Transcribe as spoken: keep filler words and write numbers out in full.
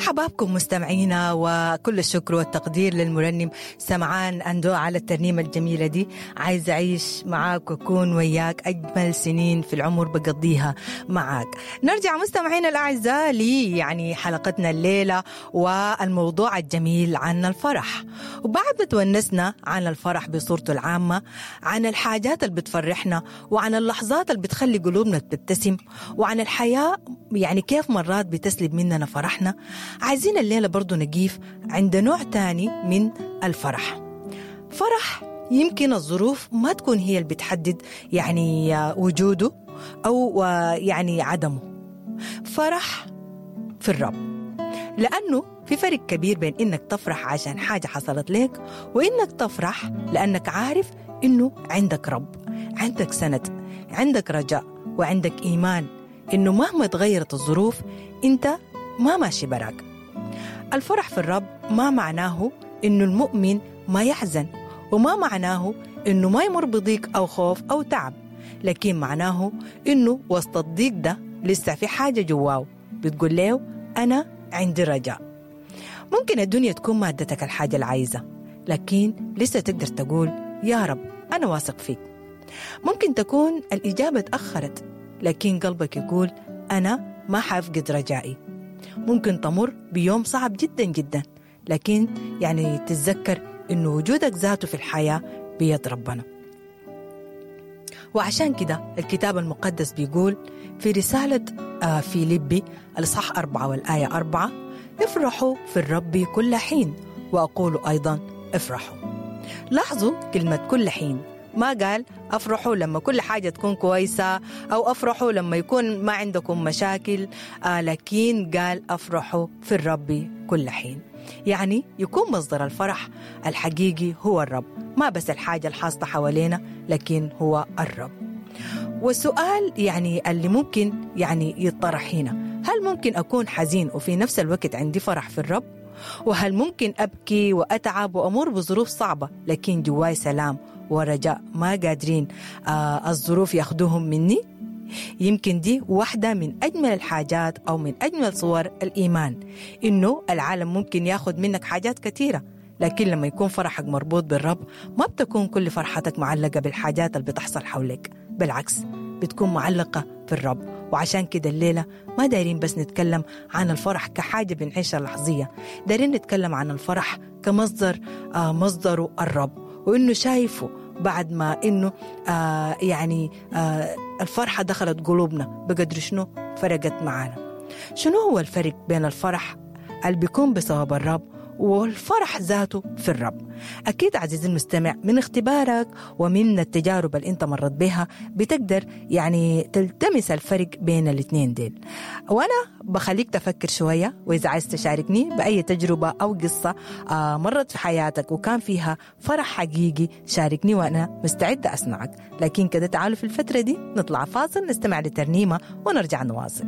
حبابكم مستمعينا، وكل الشكر والتقدير للمرنم سمعان أندو على الترنيمة الجميلة دي. عايز أعيش معاك وأكون وياك، أجمل سنين في العمر بقضيها معاك. نرجع مستمعينا الأعزاء لي يعني حلقتنا الليلة والموضوع الجميل عن الفرح. وبعد ما تونسنا عن الفرح بصورته العامة، عن الحاجات اللي بتفرحنا، وعن اللحظات اللي بتخلي قلوبنا تبتسم، وعن الحياة يعني كيف مرات بتسلب مننا فرحنا، عايزين الليلة برضو نقيف عند نوع تاني من الفرح. فرح يمكن الظروف ما تكون هي اللي بتحدد يعني وجوده أو يعني عدمه. فرح في الرب، لأنه في فرق كبير بين إنك تفرح عشان حاجة حصلت لك، وإنك تفرح لأنك عارف إنه عندك رب، عندك سند، عندك رجاء، وعندك إيمان إنه مهما تغيرت الظروف أنت ما ماشي براك. الفرح في الرب ما معناه إنه المؤمن ما يحزن، وما معناه إنه ما يمر بضيق أو خوف أو تعب، لكن معناه إنه وسط الضيق ده لسه في حاجة جواه بتقول له أنا عندي رجاء. ممكن الدنيا تكون مادتك الحاجة العايزة، لكن لسه تقدر تقول يا رب أنا واثق فيك. ممكن تكون الإجابة تأخرت، لكن قلبك يقول أنا ما حافقد رجائي. ممكن تمر بيوم صعب جدا جدا، لكن يعني تتذكر إنه وجودك ذاته في الحياة بيد ربنا. وعشان كده الكتاب المقدس بيقول في رسالة فيليبي الإصحاح أربعة والآية أربعة: افرحوا في الرب كل حين، وأقول أيضا افرحوا. لاحظوا كلمة كل حين، ما قال أفرحوا لما كل حاجة تكون كويسة، أو أفرحوا لما يكون ما عندكم مشاكل، آه لكن قال أفرحوا في الرب كل حين. يعني يكون مصدر الفرح الحقيقي هو الرب، ما بس الحاجة الحاصلة حوالينا، لكن هو الرب. والسؤال يعني اللي ممكن يعني يطرح هنا، هل ممكن أكون حزين وفي نفس الوقت عندي فرح في الرب؟ وهل ممكن أبكي وأتعب وأمر بظروف صعبة لكن جواي سلام ورجاء ما قادرين آه الظروف ياخدوهم مني؟ يمكن دي واحدة من أجمل الحاجات أو من أجمل صور الإيمان، إنه العالم ممكن ياخد منك حاجات كثيرة، لكن لما يكون فرحك مربوط بالرب ما بتكون كل فرحتك معلقة بالحاجات اللي بتحصل حولك، بالعكس بتكون معلقة في الرب. وعشان كده الليلة ما دايرين بس نتكلم عن الفرح كحاجة بنعيشها لحظية، دايرين نتكلم عن الفرح كمصدر آه مصدره الرب، وإنه شايفه بعد ما إنه آه يعني آه الفرحة دخلت قلوبنا بقدر شنو فرقت معانا. شنو هو الفرق بين الفرح اللي بيكون بسبب الرب والفرح ذاته في الرب؟ أكيد عزيزي المستمع من اختبارك ومن التجارب اللي انت مرت بها بتقدر يعني تلتمس الفرق بين الاثنين ديل. وأنا بخليك تفكر شوية، وإذا عايز تشاركني بأي تجربة أو قصة مرت في حياتك وكان فيها فرح حقيقي شاركني وأنا مستعدة أسمعك. لكن كده تعالوا في الفترة دي نطلع فاصل، نستمع لترنيمة ونرجع نواصل.